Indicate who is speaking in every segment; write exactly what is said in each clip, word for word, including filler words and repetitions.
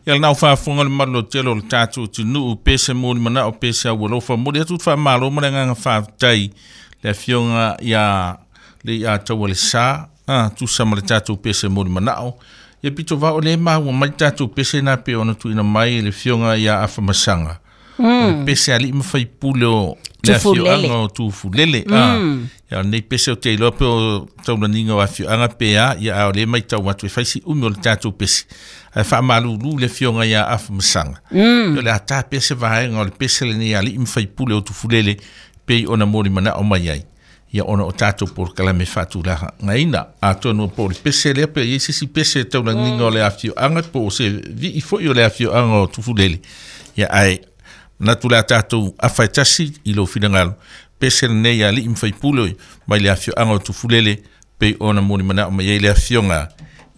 Speaker 1: Ia lena ua faafofoga le mamalu lautele o le tatou atunuu pese mo le manao pese au alofa momoli atu le faamalo ma le agaga faafetai le afioga ia le ia Taualesa a tusa ma le tatou pese mo le manao. Ia pito vao le maua mai tatou pese na pe ona tuuina mai e le afioga ia Afamasaga. O le pese a alii ma faipule o le afioaga o Tufulele. A ia nei pese o te iloa pe o taulaniga o afioaga pe a ia a o le matau atu e fai si umi o le tatou pese. Ae faamalulu le afioga ia Afamasaga. O le a ta pese vaega o le pese lenei a alii ma faipule o Tufulele pei ona moli manao mai ai. Ia ona o tatou polokalame faatulagaina. Atonu po o le pese lea pe i ai se isi pese taulaniga o le afioaga po o se vii foi o le afioaga o Tufulele. Ia ae manatu le a tatou afa e tasi i lou finagalo pese lenei a alii ma faipule mai le afioaga o Tufulele pei ona moli manao mai ai le afioga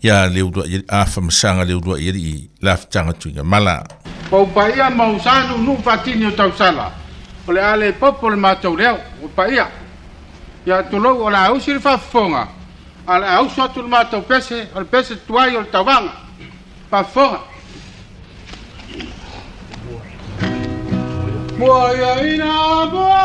Speaker 1: ia Leuluai Afamasaga Leuluai alii lafutaga Tuigamala.
Speaker 2: Pau paia ma usanu nu fatini o tausala. O le ale popo le matou leo, o paia. Ia tulou o la ausi le faafofoga, a le auso atu le matou pese, o le pese tuai o le tauvaga. Faafofoga. Moa ia ina, moa